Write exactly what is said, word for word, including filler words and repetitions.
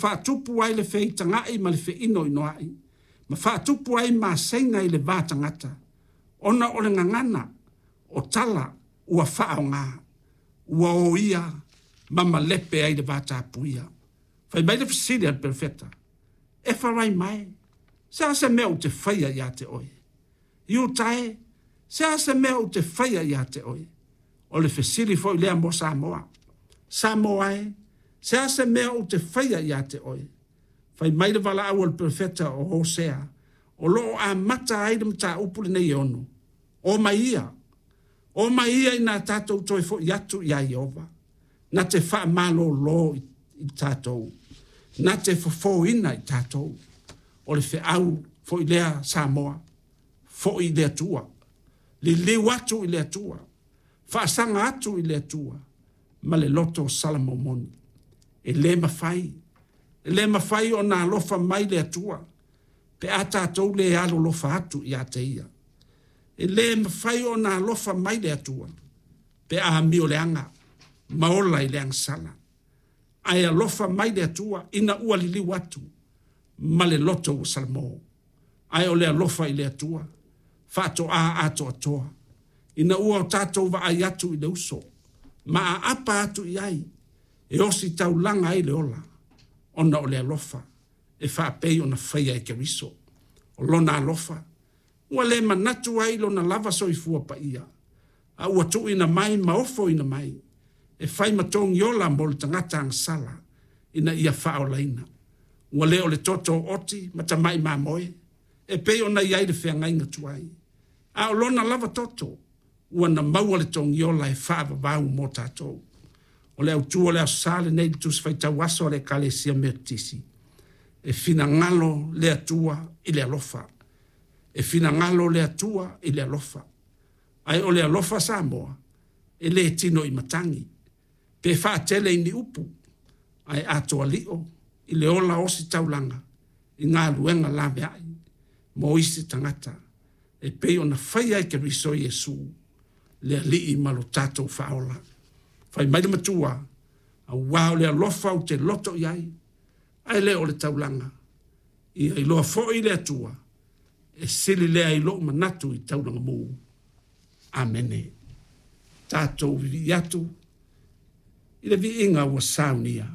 Faatupu ai le feitaga'i ma le feinoinoa'i, ma faatupu ai maseiga i le va tagata, ona o le gagana o tala ua faaaoga, ua oia ma malepe ai le vatapuia. Fai mai le fesili a le Perofeta, “Efaraima e, se a se mea ou te faia ia te oe? Iuta e, se a se mea ou te faia ia te oe?” O le fesili foi lea mo Samoa. Samoa e, se a se mea ou te faia ia te oe? Fai mai le valaau a le Perofeta o Hosea, o lo o amata ai le mataupu lenei e ono, “O mai ia, o mai ia ina tatou toe foi atu iā Ieova, na te faamalolo i tatou, na te fofoina i tatou.” O le feau foi lea Samoa, foi i le Atua, liliu atu i le Atua, faasaga atu i le Atua ma le loto salamomoni. E le mafai, e le mafai ona alofa mai le Atua pe a tatou le alolofa atu ia te Ia. E le mafai ona alofa mai le Atua pe a amioleaga ma ola i le agasala, ae alofa mai le Atua ina ua liliu atu ma le loto ua salamo. Ae o le alofa i le Atua faatoa atoatoa ina ua tatou vaai atu i le uso ma aapa atu i ai e ositaulaga ai le ola ona o le alofa e faapei ona faia e Keriso. O Lona alofa ua le manatu ai i lona lava soifua paia, a ua tuuina mai ma ofoina mai e fai ma togiola mo le tagata agasala ina ia faaolaina. Ua le o le toto oti ma tamai mamoe e pei ona i ai le feagaiga tuai, a o lona lava toto ua na maua le togiola e faavavau mo tatou. O le autu o le Aso Sa lenei i le Tusi Faitau Aso a le Ekalesia Metotisi, e finagalo le Atua i le alofa, e finagalo le Atua i le alofa. Ae o le alofa Samoa, e le tino i matagi pe faatele i ni upu, ae atoa lio i le ola ositaulaga i galuega laveai mo isi tagata e pei ona faia e Keriso Iesu le Alii ma lo tatou Faaola. Fai mai le Matua, aua o le alofa ou te loto i ai, ae le o le taulaga. Ia iloa foi le Atua, e sili lea i lou manatu i taulaga mu. Amene. Tatou vivii atu i le viiga ua saunia.